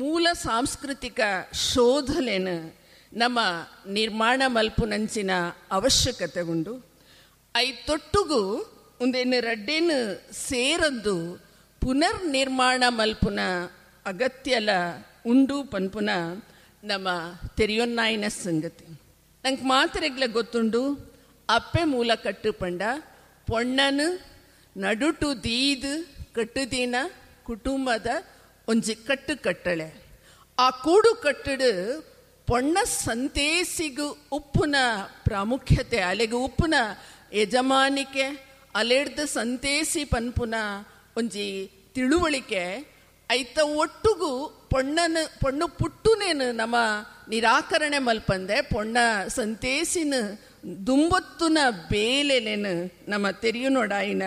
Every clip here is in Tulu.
ಮೂಲ ಸಾಂಸ್ಕೃತಿಕ ಶೋಧಲೆನು ನಮ್ಮ ನಿರ್ಮಾಣ ಮಲ್ಪುನಂಚಿನ ಅವಶ್ಯಕತೆ ಉಂಡು. I ತೊಟ್ಟುಗು ಒಂದೇನು ರಡ್ಡೇನು ಸೇರಂದು ಪುನರ್ನಿರ್ಮಾಣ ಮಲ್ಪುನ ಅಗತ್ಯಲ ಉಂಡು ಪನ್ಪುನ ನಮ್ಮ ತೆರಿಯೊನ್ನಾಯಿನ ಸಂಗತಿ. ನಂಗೆ ಮಾತ್ರೆಗ್ಲ ಗೊತ್ತುಂಡು, ಅಪ್ಪೆ ಮೂಲ ಕಟ್ಟು ಪಂಡ ಪೊಣ್ಣನು ನಡುಟು ದೀದು ಕಟ್ಟುದೀನ ಕುಟುಂಬದ ಒಂಜಿ ಕಟ್ಟು ಕಟ್ಟಳೆ. ಆ ಕೂಡು ಕಟ್ಟಡು ಪೊಣ್ಣ ಸಂತೇಸಿಗು ಉಪ್ಪುನ ಪ್ರಾಮುಖ್ಯತೆ, ಅಲೆಗು ಉಪ್ಪುನ ಯಜಮಾನಿಕೆ, ಅಲೆಡ್ದು ಸಂತೇಸಿ ಪನ್ಪುನ ಒಂಜಿ ತಿಳುವಳಿಕೆ ಐತ ಒಟ್ಟುಗು ಪೊಣ್ಣನ ಪೊಣ್ಣು ಪುಟ್ಟುನೇನು ನಮ್ಮ ನಿರಾಕರಣೆ ಮಲ್ಪಂದೆ ಪೊಣ್ಣ ಸಂತೇಸಿನ ದುಂಬೊತ್ತುನ ಬೇಲೆನೇನು ನಮ್ಮ ತೆರಿಯು ನೋಡಾಯಿನ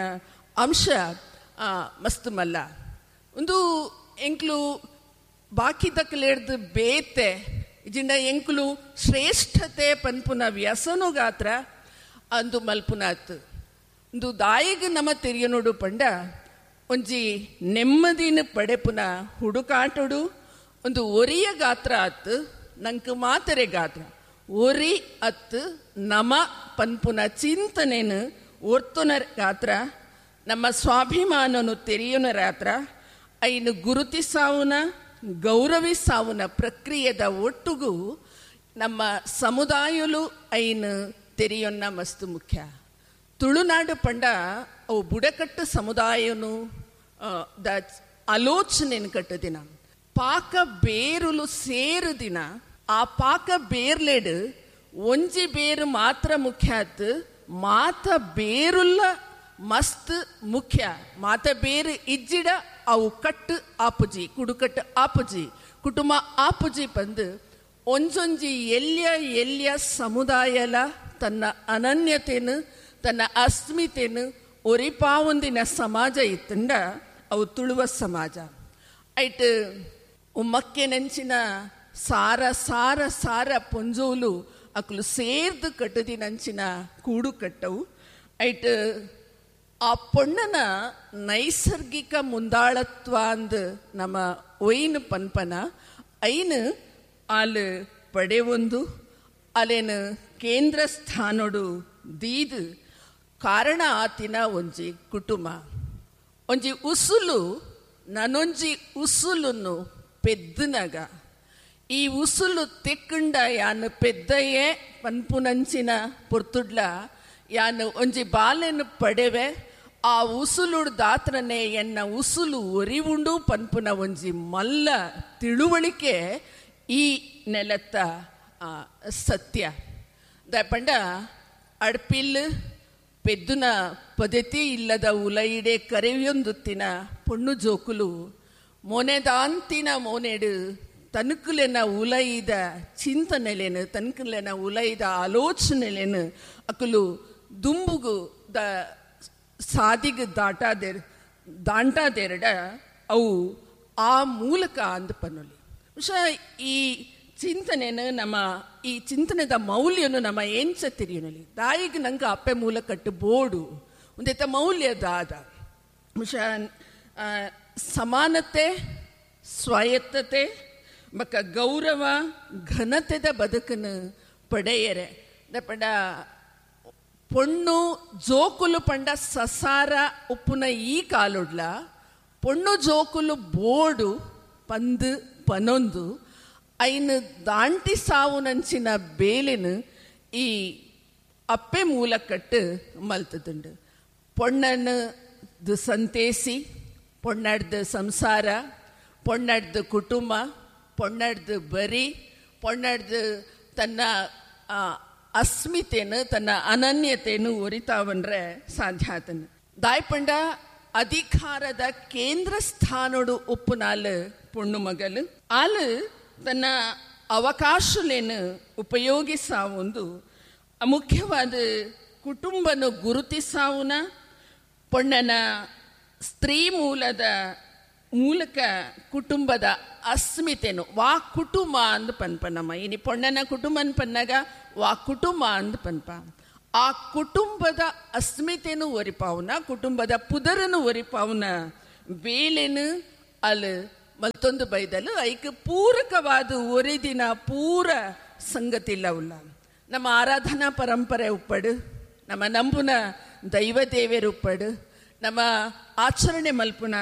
ಅಂಶ ಮಸ್ತ್ ಮಲ್ಲ. ಒಂದು ಎಂಕ್ಲು ಬಾಕಿ ತಕ್ಕಲೇಡ್ದು ಬೇತೆ ಇಜಿಂಡ ಎಂಕ್ಲು ಶ್ರೇಷ್ಠತೆ ಪನ್ಪುನ ವ್ಯಸನುಗಾತ್ರ ಅಂದು ಮಲ್ಪುನಾತ್. ಒಂದು ದಾಯಿಗೆ ನಮ್ಮ ತೆರಿಯನೋಡು ಪಂಡ ಒಂಜಿ ನೆಮ್ಮದಿನ ಪಡೆಪುನ ಹುಡುಕಾಟಡು ಒಂದು ಒರಿಯ ಗಾತ್ರ ಆತ್, ನಂಗೆ ಮಾತರೆ ಗಾತ್ರ ಒರಿ ಅತ್ತು ನಮ ಪನ್ಪುನ ಚಿಂತನೆನು ಒರ್ತುನ ಗಾತ್ರ, ನಮ್ಮ ಸ್ವಾಭಿಮಾನನು ತೆರೆಯುನ ರಾತ್ರ, ಐನು ಗುರುತಿಸಾವುನ ಗೌರವಿಸಾವುನ ಪ್ರಕ್ರಿಯೆದ ಒಟ್ಟುಗು ನಮ್ಮ ಸಮುದಾಯಲು ಐನು ತೆರೆಯೊನ್ನ ಮಸ್ತು ಮುಖ್ಯ. ತುಳುನಾಡು ಪಂಡ ಅವು ಬುಡಕಟ್ಟು ಸಮುದಾಯನು the ಆಲೋಚನೆಯನ್ನು ಕಟ್ಟುದಿನ ಪಾಕ ಬೇರುಲು ಸೇರು ದಿನ ಆ ಪಾಕ ಬೇರ್ಲೆಡು ಒಂಜಿ ಬೇರು ಮಾತ್ರ ಮುಖ್ಯ ಆತು, ಮಾತ ಬೇರುಲ್ಲ ಮಸ್ತ್ ಮುಖ್ಯ. ಮಾತ ಬೇರು ಇಜ್ಜಿಡ ಅವು ಕಟ್ಟು ಆಪುಜಿ, ಕುಡುಕಟ್ಟು ಆಪುಜಿ, ಕುಟುಂಬ ಆಪುಜಿ ಪಂದು ಒಂಜೊಂಜಿ ಎಲ್ಯ ಎಲ್ಯ ಸಮುದಾಯಲ ತನ್ನ ಅನನ್ಯತೆನು ತನ್ನ ಅಸ್ಮಿತೆನು ಒರಿಪಾವೊಂದಿನ ಸಮಾಜ ಇತ್ತಂಡ ಅವು ತುಳುವ ಸಮಾಜ. ಐಟ್ ಉಮ್ಮಕ್ಕೆ ನೆಂಚಿನ ಸಾರ ಸಾರ ಸಾರ ಪೊಂಜೋಲು ಅಕ್ಲು ಸೇರ್ದು ಕಟ್ಟದಿನಂಚಿನ ಕೂಡು ಕಟ್ಟವು. ಐಟ್ ಆ ಪೊಣ್ಣನ ನೈಸರ್ಗಿಕ ಮುಂದಾಳತ್ವ ಅಂದು ನಮ್ಮ ಒಯ್ನು ಪನ್ಪನ ಐನು ಆಲು ಪಡೆವೊಂದು ಅಲೇನು ಕೇಂದ್ರ ಸ್ಥಾನೊಡು ದೀದು ಕಾರಣ ಆತಿನ ಒಂಜಿ ಕುಟುಂಬ ಒಂಜಿ ಉಸುಲು ನನೊಂಜಿ ಉಸುಲನ್ನು ಪೆದ್ದನಗ ಈ ಉಸುಲು ತೆಕ್ಕುಂಡ ಯಾನು ಪೆದ್ದಯೇ ಪನ್ಪುನಂಚಿನ ಪೊರ್ತುಡ್ಲ ಯಾನು ಒಂಜಿ ಬಾಲೆನು ಪಡೆವೆ ಆ ಉಸುಲುಡು ದಾತ್ರನೆ ಎನ್ನ ಉಸುಲು ಒರಿವುಂಡು ಪನ್ಪುನ ಒಂಜಿ ಮಲ್ಲ ತಿಳುವಳಿಕೆ ಈ ನೆಲತ್ತ ಸತ್ಯ. ಪಂಡ ಅಡ್ಪಿಲ್ ಪೆದ್ದುನ ಪದ್ಧತಿ ಇಲ್ಲದ ಉಲೈಡೆ ಕರೆಯೊಂದುತ್ತಿನ ಪೊಣ್ಣು ಜೋಕುಲು ಮೋನೆದಾಂತಿನ ಮೋನೆಡು ತನುಕುಲೆನ ಉಲೈದ ಚಿಂತನೆಲೇನು ತನುಕುಲೆನ ಉಲೈದ ಆಲೋಚನೆಲೇನು ಅಕುಲು ದುಂಬುಗು the ಸಾದಿಗೆ ದಾಟಾದೇರ್ ದಾಂಟಾದೇರಡ ಅವು ಆ ಮೂಲಕ ಅಂದ ಪನ್ನೊಲಿ. ಬಹುಶಃ ಈ ಚಿಂತನೆನು ನಮ್ಮ ಈ ಚಿಂತನೆದ ಮೌಲ್ಯನು ನಮ್ಮ ಎಂಚ ತಿರಿಯನಲಿ ದಾಯಿಗೆ ನಂಗೆ ಅಪ್ಪೆ ಮೂಲ ಕಟ್ಟು ಬೋಡು ಒಂದೈತ ಮೌಲ್ಯ ದಾದ. ಬಹುಶಃ ಸಮಾನತೆ, ಸ್ವಾಯತ್ತತೆ ಬಕ್ಕ ಗೌರವ ಘನತೆದ ಬದುಕನ್ನು ಪಡೆಯರೆ. ಪಂಡ ಪೊಣ್ಣು ಜೋಕುಲು ಪಂಡ ಸಸಾರ ಉಪ್ಪುನ ಈ ಕಾಲುಡ್ಲ ಪೊಣ್ಣು ಜೋಕುಲು ಬೋಡು ಪಂದು ಪನೊಂದು ಐನು ದಾಂಟಿ ಸಾವುನಂಚಿನ ಬೇಲೆನು ಈ ಅಪ್ಪೆ ಮೂಲಕಟ್ಟು ಮಲ್ತದುಂಡು. ಪೊಣ್ಣನು ಸಂತೇಸಿ, ಪೊಣ್ಣಡ್ದು ಸಂಸಾರ, ಪೊಣ್ಣಡ್ದು ಕುಟುಂಬ, ಪೊಣ್ಣಡ್ದು ಬರಿ, ಪೊಣ್ಣಡ್ದು ತನ್ನ ಅಸ್ಮಿತೆನು ತನ್ನ ಅನನ್ಯತೆಯನ್ನು ಒರಿತಾವನ್ರೆ ಸಾಧ್ಯ ಆತನು. ದಾಯ್ಪಂಡ ಅಧಿಕಾರದ ಕೇಂದ್ರ ಸ್ಥಾನೋಡು ಉಪ್ಪುನಾಲು ಪೊಣ್ಣು ಮಗಲು ಆಲು ತನ್ನ ಅವಕಾಶಲೇನು ಉಪಯೋಗಿಸಾವೊಂದು ಮುಖ್ಯವಾದ ಕುಟುಂಬನು ಗುರುತಿಸಾವುನ ಪೊಣ್ಣನ ಸ್ತ್ರೀ ಮೂಲದ ಮೂಲಕ ಕುಟುಂಬದ ಅಸ್ಮಿತೆನು ವಾ ಕುಟುಂಬ ಅಂದ್ ಪನ್ಪನಮ್ಮ. ಇನಿ ಪೊಣ್ಣನ ಕುಟುಂಬ ಪನ್ನಾಗ ವಾ ಕುಟುಂಬ ಅಂದ್ ಪನ್ಪ. ಆ ಕುಟುಂಬದ ಅಸ್ಮಿತೆನು ಒರಿಪಾವುನ ಕುಟುಂಬದ ಪುದರನು ಒರಿಪಾವುನ ಬೇಲೆನು ಅಲ್ ಮಲ್ತೊಂದು ಬೈದಲು ಐಕ್ ಪೂರಕವಾದ ಒರಿದಿನ ಪೂರ ಸಂಗತಿಲ್ಲ ಉಲ್ಲ. ನಮ್ಮ ಆರಾಧನಾ ಪರಂಪರೆ ಉಪ್ಪಡು, ನಮ್ಮ ನಂಬುನ ದೈವ ದೇವೇರು ಉಪ್ಪಡು, ನಮ್ಮ ಆಚರಣೆ ಮಲ್ಪುನ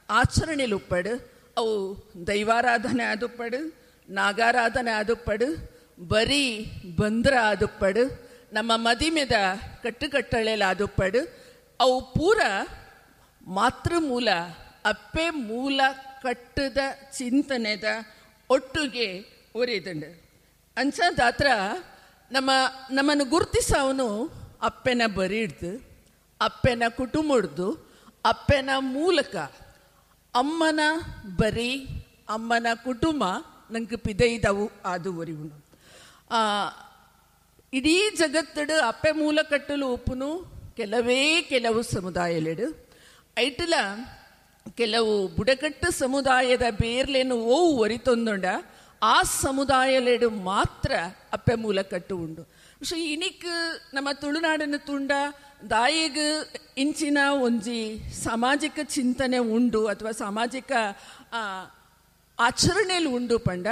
ಆಚರಣೆಲು ಉಪ್ಪಡು. ಅವು ದೈವಾರಾಧನೆ ಆದುಪ್ಪಡು, ನಾಗಾರಾಧನೆ ಆದುಪ್ಪಡು, ಬರೀ ಬಂದ್ರ ಆದುಪ್ಪಡು, ನಮ್ಮ ಮದಿಮೆದ ಕಟ್ಟುಕಟ್ಟಳೆಲ್ಲ ಆದುಪ್ಪಡು. ಅವು ಪೂರ ಮಾತೃಮೂಲ ಅಪ್ಪೆ ಮೂಲ ಕಟ್ಟದ ಚಿಂತನೆದ ಒಟ್ಟಿಗೆ ಒರಿದಂಡು. ಅಂಚಾದಾತ್ರ ನಮ್ಮ ನಮ್ಮನ್ನು ಗುರುತಿಸವನು ಅಪ್ಪೆನ ಬರಿ ಹಿಡ್ದು, ಅಪ್ಪೆನ ಕುಟುಂಬ ಹಿಡ್ದು, ಅಪ್ಪೆನ ಮೂಲಕ ಅಮ್ಮನ ಬರಿ ಅಮ್ಮನ ಕುಟುಂಬ ನಂಗೆ ಪಿದೈದವು ಅದು ಒರಿವುನು. ಇಡೀ ಜಗತ್ತಡು ಅಪ್ಪೆ ಮೂಲ ಕಟ್ಟಲು ಉಪ್ಪುನು ಕೆಲವೇ ಕೆಲವು ಸಮುದಾಯಲೆಡು. ಐಟಲ ಕೆಲವು ಬುಡಕಟ್ಟು ಸಮುದಾಯದ ಬೇರ್ಲೇನು ಓವು ಒರಿತೊಂದುಂಡ ಆ ಸಮುದಾಯಲೆಡು ಮಾತ್ರ ಅಪ್ಪೆ ಮೂಲ ಕಟ್ಟು ಉಂಡು. ಸೊ ಇನಿಕ್ ನಮ್ಮ ತುಳುನಾಡಿನ ತುಂಡ ದಾಯಿಗ್ ಇಂಚಿನ ಒಂಜಿ ಸಾಮಾಜಿಕ ಚಿಂತನೆ ಉಂಡು ಅಥವಾ ಸಾಮಾಜಿಕ ಆಚರಣೆಯಲ್ಲಿ ಉಂಡು ಪಂಡ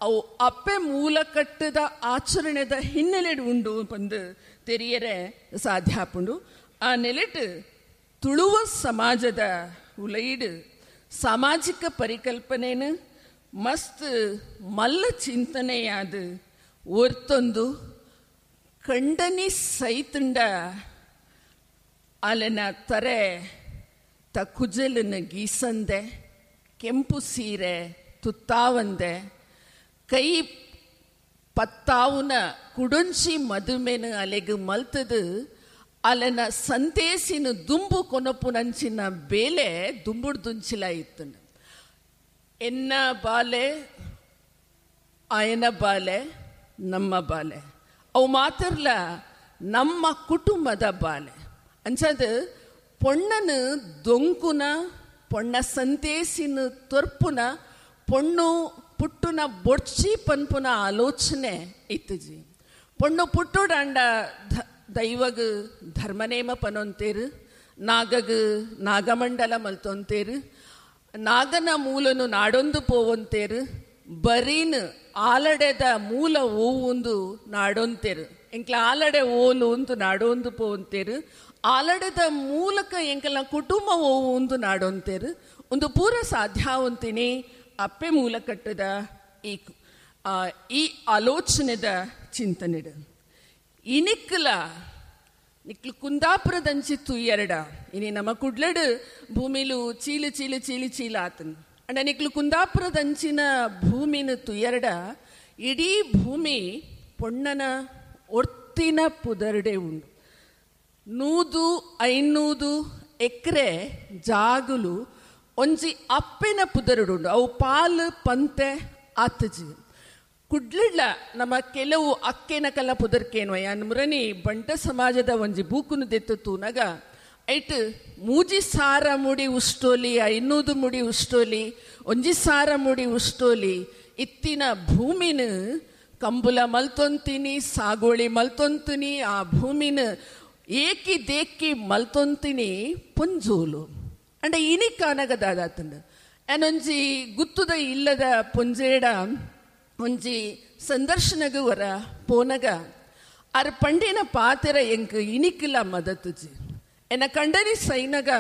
ಅವು ಅಪ್ಪೆ ಮೂಲ ಕಟ್ಟದ ಆಚರಣೆದ ಹಿನ್ನೆಲೆಡು ಉಂಡು ಪಂದು ತೆರಿಯರೆ ಸಾಧ್ಯ ಆಪುಂಡು. ಆ ನೆಲೆಟ್ ತುಳುವ ಸಮಾಜದ ಉಲೈಡು ಸಾಮಾಜಿಕ ಪರಿಕಲ್ಪನೆನು ಮಸ್ತ್ ಮಲ್ಲ ಚಿಂತನೆಯಾದ ಒರ್ತೊಂದು ಕಂಡನಿ ಸೈತುಂಡ ಅಲೆನ ತರೆ ತ ಕುಜಲನ್ನು ಗೀಸಂದೆ, ಕೆಂಪು ಸೀರೆ ತುತ್ತಾವಂದೆ, ಕೈ ಪತ್ತಾವುನ ಕುಡೊಂಚಿ ಮದುಮೆನು ಅಲೆಗು ಮಲ್ತದು ಅಲೆನ ಸಂತೇಸಿನ ದುಂಬು ಕೊನಪುನಂಚಿನ ಬೇಲೆ ದುಂಬುಡ್ ದುಂಚಿಲ ಇತ್ತು. ಎನ್ನ ಬಾಲೆ ಆಯನ ಬಾಲೆ ನಮ್ಮ ಬಾಲೆ ಅವು ಮಾತ್ರಲ್ಲ ನಮ್ಮ ಕುಟುಂಬದ ಬಾಲೆ ಅಂಚದು ಪೊಣ್ಣನು ದೊಂಕುನ ಪೊಣ್ಣ ಸಂತೇಸಿನ ತೊರ್ಪುನ ಪೊಣ್ಣು ಪುಟ್ಟುನ ಬೊಡ್ಚಿ ಪನ್ಪುನ ಆಲೋಚನೆ ಇತ್ತುಜಿ. ಪೊಣ್ಣು ಪುಟ್ಟುಡಾಂಡ ದೈವಗ್ ಧರ್ಮನೇಮ ಪನೊಂತೇರು, ನಾಗಗ್ ನಾಗಮಂಡಲ ಮಲ್ತೊಂತೇರು, ನಾಗನ ಮೂಲನು ನಾಡೊಂದು ಪೋವೊಂತೇರು, ಬರೀನ್ ಆಲಡೆದ ಮೂಲ ಓವೊಂದು ನಾಡೊಂತೇರು, ಎಂಕ್ಲ ಆಲಡೆ ಓಲು ಒಂದು ನಾಡೊಂದು ಪೋವಂತೇರು, ಆಲಡೆದ ಮೂಲಕ ಎಂಕಲ್ನ ಕುಟುಂಬ ಓವು ನಾಡೊಂತೇರು. ಒಂದು ಪೂರ ಸಾಧ್ಯ ಅಪ್ಪೆ ಮೂಲ ಕಟ್ಟದ ಈ ಈ ಆಲೋಚನೆದ ಚಿಂತನೆಡು. ಇನಿಕ್ಲ ನಿಕ್ಲು ಕುಂದಾಪುರದಂಚಿತ್ತು ಎರಡ ಇನಿ ನಮ್ಮ ಕುಡ್ಲಡು ಭೂಮಿಲು ಚೀಲು ಚೀಲು ಚೀಲು ಚೀಲ ಆತನು. ಅಂಡ ನಿಕ್ಲು ಕುಂದಾಪುರದಂಚಿನ ಭೂಮಿನ ತುಯರ್ಡ ಇಡೀ ಭೂಮಿ ಪೊಣ್ಣನ ಒರ್ತಿನ ಪುದರ್ಡೆ ಉಂಡು. 100 500 ಎಕರೆ ಜಾಗುಲು ಒಂಜಿ ಅಪ್ಪೆನ ಪುದರುಡುಂಡು. ಅವು ಪಾಲು ಪಂತೆ ಆತಜಿ. ಕುಡ್ಲಿಡ್ಲ ನಮ್ಮ ಕೆಲವು ಅಕ್ಕೆನ ಕಲ್ಲ ಪುದರ್ಕೇನ್ವಯ ಮುರನಿ ಬಂಟ ಸಮಾಜದ ಒಂಜಿ ಬೂಕುನು ದೆತ್ತು ತೂನಗ ಐಟ್ 3 ಸಾರ ಮುಡಿ ಉಷ್ಟೋಲಿ, 500 ಮುಡಿ ಉಷ್ಟೋಲಿ, 1 ಸಾರ ಮುಡಿ ಉಷ್ಟೋಲಿ ಇತ್ತಿನ ಭೂಮಿನ ಕಂಬುಲ ಮಲ್ತೊಂತೀನಿ, ಸಾಗೋಳಿ ಮಲ್ತೊಂತೀನಿ, ಆ ಭೂಮಿನ ಏಕಿ ದೇಕ್ಕಿ ಮಲ್ತೊಂತೀನಿ ಪೊಂಜೋಲು. ಅಂಡ ಇನಿ ಕಾನಗದಾದಾತಂಡ ಅನೊಂಜಿ ಗುತ್ತುದ ಇಲ್ಲದ ಪೊಂಜೇಡ ಒಂಜಿ ಸಂದರ್ಶನಗು ವರ ಪೋನಗ ಅರ್ ಪಂಡಿನ ಪಾತೆರ ಎಂಕ್ ಇನಿಕ್ಲ ಮದತುಜಿ. ಎನ್ನ ಕಂಡನಿ ಸೈನಗ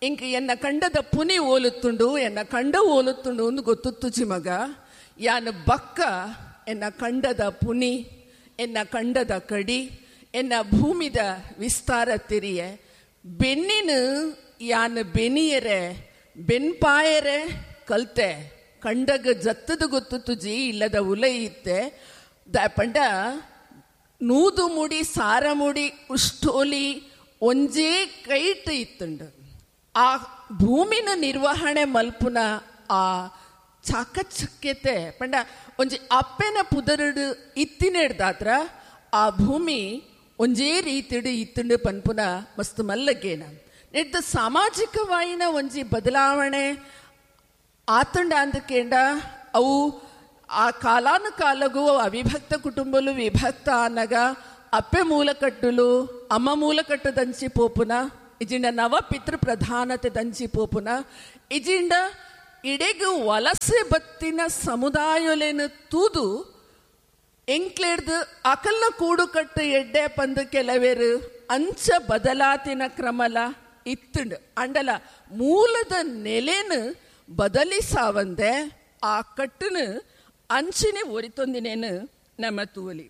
ಎಂಕ್ ಎನ್ನ ಕಂಡದ ಪುನಿ ಓಲುತ್ತುಂಡು, ಎನ್ನ ಕಂಡ ಓಲುತ್ತುಂಡು ಒಂದು ಗೊತ್ತುತ್ತುಜಿ ಮಗ. ಯಾನು ಬಕ್ಕ ಎನ್ನ ಕಂಡದ ಪುನಿ, ಎನ್ನ ಕಂಡದ ಕಡಿ, ಎನ್ನ ಭೂಮಿದ ವಿಸ್ತಾರ ತೆರಿಯೆ ಬೆನ್ನಿನ ಯಾನು ಬೆನಿಯರೆ ಬೆನ್ಪಾಯರೆ ಕಲ್ತೆ ಕಂಡಗ ಜತ್ತದ ಗೊತ್ತು ತುಜಿ ಇಲ್ಲದ ಉಲೈ ಇತ್ತೆ ಪಂಡ 100 ಮುಡಿ ಸಾರ ಮುಡಿ ಉಷ್ಟೋಲಿ ಒಂಜೇ ಕೈಟ್ ಇತ್ತುಂಡು. ಆ ಭೂಮಿನ ನಿರ್ವಹಣೆ ಮಲ್ಪುನ ಆ ಚಾಕಚಕ್ಯತೆ ಪಂಡ ಒಂಜಿ ಅಪ್ಪೆನ ಪುದರುಡು ಇತ್ತಿನೆಡ್ದಾತ್ರ ಆ ಭೂಮಿ ಒಂಜೇ ರೀತಿಡು ಇತ್ತುಂಡು ಪನ್ಪುನ ಮಸ್ತ್ ಮಲ್ಲಗೇನ. ನೆಡ್ದ ಸಾಮಾಜಿಕವಾಯಿನ ಒಂಜಿ ಬದಲಾವಣೆ ಆತಂಡ ಅಂದಕೇಂಡ ಅವು ಆ ಕಾಲಾನುಕಾಲಗೂ ಅವಿಭಕ್ತ ಕುಟುಂಬಲು ವಿಭಕ್ತ ಆನಗ ಅಪ್ಪೆ ಮೂಲಕಟ್ಟುಲು ಅಮ್ಮ ಮೂಲಕಟ್ಟು ದಂಚಿ ಪೋಪುನ ಇಜಿಂಡ ನವ ಪಿತೃ ಪ್ರಧಾನತೆ ದಂಚಿ ಪೋಪುನ ಇಜಿಂಡ ಇಡೆಗು ವಲಸೆ ಬತ್ತಿನ ಸಮುದಾಯೊಲೆನು ತೂದು ಎಂಕ್ಲೆಡ್ದು ಅಕಲ್ನ ಕೂಡುಕಟ್ಟು ಎಡ್ಡೆ ಪಂದು ಕೆಲವೇರು ಅಂಚ ಬದಲಾತಿನ ಕ್ರಮಲ ಇತ್ತುಂಡು. ಅಂಡಲ ಮೂಲದ ನೆಲೆನು ಬದಲಿಸಾವಂದೆ ಆ ಕಟ್ಟುನು ಅಂಚಿನೆ ಒರಿತೊಂದಿನೇನು ನಮ್ಮ ತೂವಲಿ.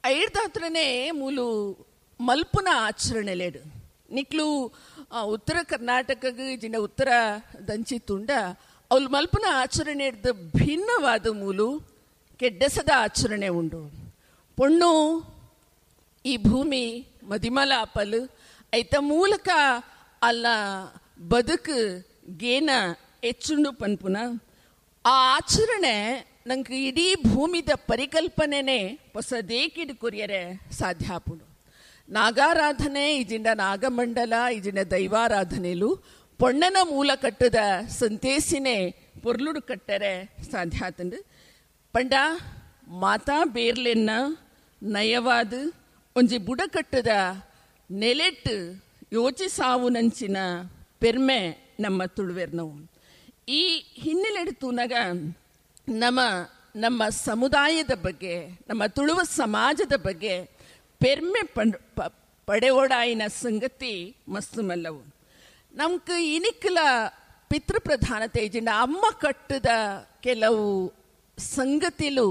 ಐಡ್ದಾತ್ರನೇ ಮೂಲು ಮಲ್ಪುನ ಆಚರಣೆಲೇಡು ನಿಕ್ಲು ಉತ್ತರ ಕರ್ನಾಟಕಗೆ ಜಿನ ಉತ್ತರ ದಂಚಿ ತುಂಡ ಅವಳು ಮಲ್ಪುನ ಆಚರಣೆ ಭಿನ್ನವಾದ ಮೂಲು ಕೆಡ್ಡಸದ ಆಚರಣೆ ಉಂಡು. ಪೊಣ್ಣು ಈ ಭೂಮಿ ಮದಿಮಲ ಅಪಲು ಐತ ಮೂಲಕ ಅಲ್ಲ ಬದುಕು ಗೇನ ಹೆಚ್ಚುಂಡು ಪನ್ಪುನ ಆ ಆಚರಣೆ ನಂಗೆ ಇಡೀ ಭೂಮಿದ ಪರಿಕಲ್ಪನೆನೇ ಹೊಸದೇಕಿಡು ಕೊರಿಯರೆ ಸಾಧ್ಯ ಆಪುಂಡು. ನಾಗಾರಾಧನೆ ಇಜಿಂಡ ನಾಗಮಂಡಲ ಇಜಿಂಡ ದೈವಾರಾಧನೆಲು ಪೊಣ್ಣನ ಮೂಲ ಕಟ್ಟದ ಸಂತೇಸಿನೇ ಪೊರ್ಲುಡು ಕಟ್ಟರೆ ಸಾಧ್ಯ ಆತಂಡು. ಪಂಡ ಮಾತಾ ಬೇರ್ಲೆನ್ನ ನಯವಾದ ಒಂಜಿ ಬುಡಕಟ್ಟದ ನೆಲೆಟ್ಟು ಯೋಚಿಸಾವು ನಂಚಿನ ಪೆರ್ಮೆ ನಮ್ಮ ತುಳುವೆರ್ನವು. ಈ ಹಿನ್ನೆಲೆಡು ತೂನಾಗ ನಮ್ಮ ನಮ್ಮ ಸಮುದಾಯದ ಬಗ್ಗೆ, ನಮ್ಮ ತುಳುವ ಸಮಾಜದ ಬಗ್ಗೆ ಪೆರ್ಮೆ ಪಡೆಯೋಡಾಯಿನ ಸಂಗತಿ ಮಸ್ತು ಮಲ್ಲವು. ನಮ್ಗೆ ಇನಿಕ್ಲ ಪಿತೃಪ್ರಧಾನತೆ ಇಜಿಂಡ ಅಮ್ಮ ಕಟ್ಟದ ಕೆಲವು ಸಂಗತಿಲು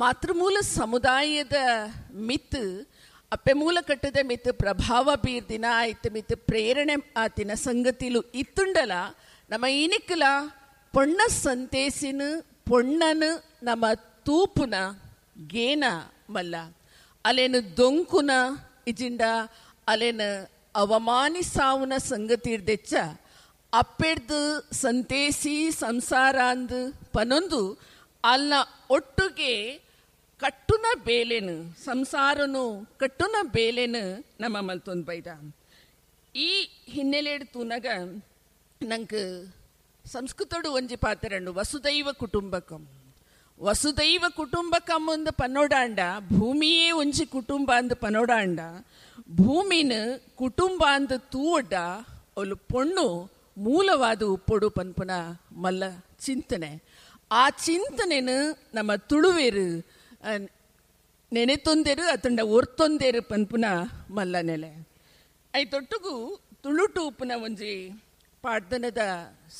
ಮಾತೃಮೂಲ ಸಮುದಾಯದ ಮಿತ್ ಅಪ್ಪೆ ಮೂಲ ಕಟ್ಟದ ಮಿತ್ ಪ್ರಭಾವ ಬೀರ್ದಿನ ಆಯ್ತು ಮಿತ್ ಪ್ರೇರಣೆ ಆತಿನ ಸಂಗತಿಲು ಇತ್ತುಂಡಲ ನಮ್ಮ ಇನಿಕ್ಲ ಪೊಣ್ಣ ಸಂತೇಸಿನ ಪೊಣ್ಣನು ನಮ್ಮ ತೂಪುನ ಗೇನ ಮಲ್ಲ ಅಲೇನು ದೊಂಕುನ ಇಜಿಂಡ ಅಲೇನು ಅವಮಾನಿಸಾವುನ ಸಂಗತಿ ಇರ್ದೆಚ್ಚ ಅಪ್ಪೆಡ್ದು ಸಂತೇಸಿ ಸಂಸಾರ ಅಂದು ಪನೊಂದು ಅಲ್ಲ ಒಟ್ಟಿಗೆ ಕಟ್ಟುನ ಬೇಲೆನು ಸಂಸಾರನು ಕಟ್ಟುನ ಬೇಲೆನು ನಮ್ಮ ಮಲ್ತೊಂದು ಬೈದ. ಈ ಹಿನ್ನೆಲೆ ತೂನಾಗ ನಂಗೆ ಸಂಸ್ಕೃತಡು ಒಂಜಿ ಪಾತ್ರಂಡು ವಸುದೈವ ಕುಟುಂಬಕಂ. ವಸುದೈವ ಕುಟುಂಬಕಂ ಒಂದು ಪನ್ನೋಡಾಂಡ ಭೂಮಿಯೇ ಒಂಜಿ ಕುಟುಂಬ ಅಂದು ಪನ್ನೋಡಾಂಡ ಭೂಮಿನ ಕುಟುಂಬ ಅಂದು ತೂವಡ್ಡ ಅವಳು ಪೊಣ್ಣು ಮೂಲವಾದ ಉಪ್ಪೊಡು ಪನ್ಪುನ ಮಲ್ಲ ಚಿಂತನೆ. ಆ ಚಿಂತನೆನು ನಮ್ಮ ತುಳುವೇರು ನೆನೆತೊಂದೇರು ಅತಂಡ ಒರ್ತೊಂದೇರು ಪನ್ಪುನ ಮಲ್ಲ ನೆಲೆ. ಐತೊಟ್ಟುಗು ತುಳುಟು ಉಪ್ಪುನ ಒಂಜಿ ಪಾಡ್ದನದ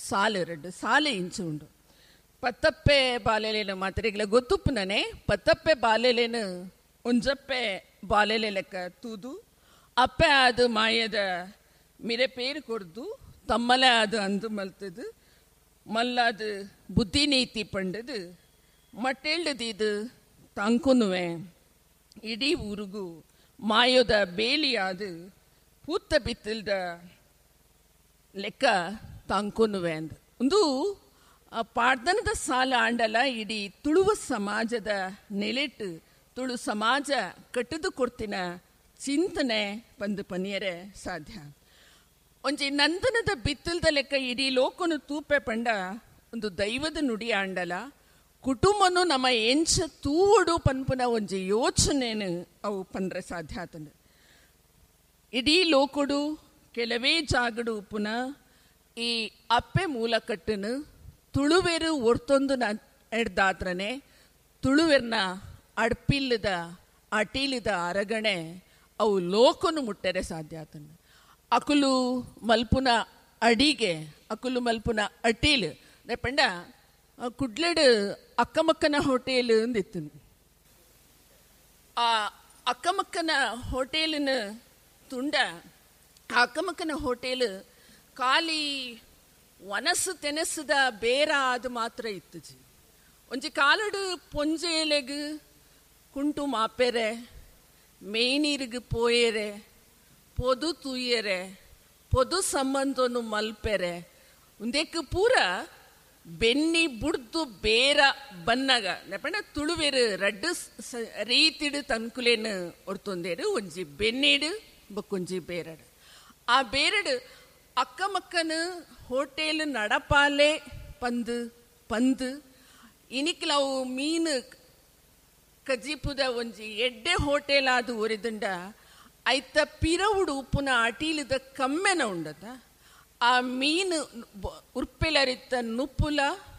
ಸಾಲು ಎರಡು ಸಾಲೆ ಇಂಚು ಉಂಡು. ಪತ್ತಪ್ಪೆ ಬಾಲೆಲೇನು ಮಾತ್ರೆಗಳ ಗೊತ್ತುಪ್ಪುನನೆ ಪತ್ತಪ್ಪೆ ಬಾಲೆಲೇನು ಒಂಜಪ್ಪೆ ಬಾಲೆಲೆ ಲೆಕ್ಕ ತೂದು ಅಪ್ಪೆ ಅದು ಮಾಯದ ಮಿರೆ ಪೇರು ಕೊರ್ದು ತಮ್ಮಲೆ ಅದು ಅಂದು ಮಲ್ತದು ಮಲ್ಲಾದು ಬುದ್ಧಿ ನೀತಿ ಪಂಡದು ಮಟ್ಟೆಳ್ದೀದು ತಂಕುನುವೆ ಇಡೀ ಊರಿಗೂ ಮಾಯೋದ ಬೇಲಿಯಾದು ಪೂತ್ತ ಬಿತ್ತಲ್ದ ಲೆಕ್ಕ ತಂಕುನುವೆ ಅಂದ ಒಂದು ಪಾಡ್ದನದ ಸಾಲ ಆಂಡಲ ಇಡೀ ತುಳುವ ಸಮಾಜದ ನೆಲೆಟ್ಟು ತುಳು ಸಮಾಜ ಕಟ್ಟಿದು ಕೊಡ್ತಿನ ಚಿಂತನೆ ಬಂದು ಪನಿಯರೆ ಸಾಧ್ಯ. ಒಂಜಿ ನಂದನದ ಬಿತ್ತಲ್ದ ಲೆಕ್ಕ ಇಡೀ ಲೋಕನು ತೂಪೆ ಪಂಡ ಒಂದು ದೈವದ ನುಡಿ ಆಂಡಲ ಕುಟುಂಬನು ನಮ್ಮ ಎಂಚ ತೂವಡು ಪನ್ಪುನ ಒಂಜಿ ಯೋಚನೆನು ಅವು ಪಂಡ್ರೆ ಸಾಧ್ಯ ಆತಂಡು. ಇಡೀ ಲೋಕಡು ಕೆಲವೇ ಜಾಗಡು ಪುನಃ ಈ ಅಪ್ಪೆ ಮೂಲ ಕಟ್ಟನು ತುಳುವೆರು ಒರ್ತೊಂದು ಎಡ್ದಾತ್ರನೆ ತುಳುವೆರ್ನ ಅಡ್ಪಿಲ್ಲದ ಅಟೀಲಿದ ಅರಗಣೆ ಅವು ಲೋಕನು ಮುಟ್ಟರೆ ಸಾಧ್ಯ ಆತಂಡು. ಅಕುಲು ಮಲ್ಪುನ ಅಡಿಗೆ ಅಕುಲು ಮಲ್ಪುನ ಅಟೀಲ್ ಪಂಡ ಕುಡ್ಲೆಡು ಅಕ್ಕಮಕ್ಕನ ಹೋಟೆಲ್ ಅಂದಿತ್ತು. ಆ ಅಕ್ಕಮಕ್ಕನ ಹೋಟೆಲಿನ ತುಂಡ ಆ ಅಕ್ಕಮಕ್ಕನ ಹೋಟೆಲ್ ಖಾಲಿ ವನಸು ತೆನಸದ ಬೇರ ಅದು ಮಾತ್ರ ಇತ್ತುಜಿ. ಒಂಜಿ ಕಾಲಡು ಪೊಂಜೇಲೆಗ್ ಕುಂಟು ಮಾಪೆರೆ ಮೇನೀರಿಗೆ ಪೋಯೆರೆ ಪೊದು ತೂಯೆರೆ ಪೊದು ಸಂಬಂಧನು ಮಲ್ಪೆರೆ ಒಂದೇಕ್ ಪೂರ ಬೆನ್ನಿ ಬುಡ್ದು ಬೇರ ಬನ್ನಗ ನೆಪಂಡ ತುಳುವೇರು ರಡ್ಡು ರೀತಿಡು ತನ್ಕುಲೇನು ಒರ್ತೊಂದೇರು ಒಂಜಿ ಬೆನ್ನಿಡು ಬೊಕ್ಕೊಂಜಿ ಬೇರಡು. ಆ ಬೇರಡು ಅಕ್ಕಮಕ್ಕನು ಹೋಟೆಲ್ ನಡಪಾಲೆ ಪಂದು ಪಂದು ಇನಿಕ್ಲವು ಮೀನು ಕಜಿಪುದ ಒಂಜಿ ಎಡ್ಡೆ ಹೋಟೆಲ್ ಆದು ಒರಿದುಂಡ ಐತ ಪಿರವುಡು ಉಪ್ಪುನ ಅಟೀಲಿದ ಕಮ್ಮೆನ ಉಂಡತ ಆ ಮೀನು ಉರ್ಪೆಲರಿತ್ತ ನುಪ್ಪುಲ.